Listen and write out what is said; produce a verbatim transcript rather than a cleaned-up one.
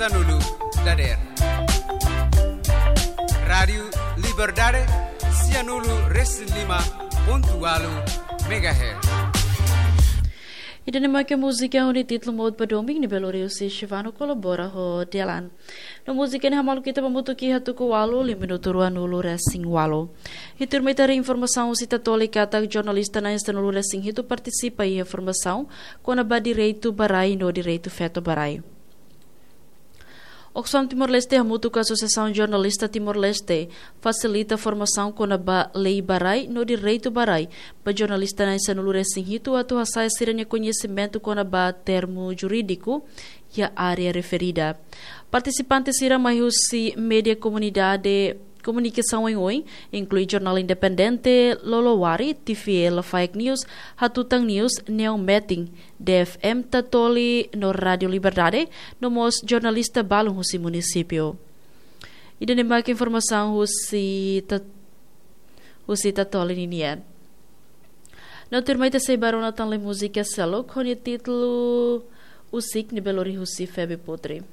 Sianulu dader. Rádiu Liberdade, sianulu resin lima pontu ualu megahertz. Ida-ne'e mak múzika ho nia títulu Mot ba Domin, ne'ebé lori husi Shivano kolabora ho Delan. No múzika ne'e hamaluk ita ba hamutuk iha tuku ualu, liu minutu ruanulu resin ualu. Iha tuirmai ita haree informasaun husi Tatoli katak jornalista na'in sanulu resin hitu partisipa iha formasaun kona-ba direitu ba rai no direitu feto ba rai. Oxfam Timor-Leste hamutuk ho Asosiasaun Jornalista Timor-Leste fasilita formasaun kona-ba lei ba rai no direitu ba rai ba jornalista na'in sanulu resin hitu atu hasa'e sira-nia koñesimentu kona-ba termu jurídiku iha área referida. Partisipante sira mai husi média komunidade komunikasaun oioin, inklui jornál independente, Lolowari, T V L Fake News, Hatutan News, Neon Meeting, D F M Tatoli no Rádiu Liberdade, no mós jornalista balun husi munisípiu. Ida-ne'e mak informasaun husi Ta-, husi Tatoli ninian. No tuirmai ita sei ba rona tan lee múzika seluk ho nia títulu Usik, ne'ebé lori husi Feby Putri.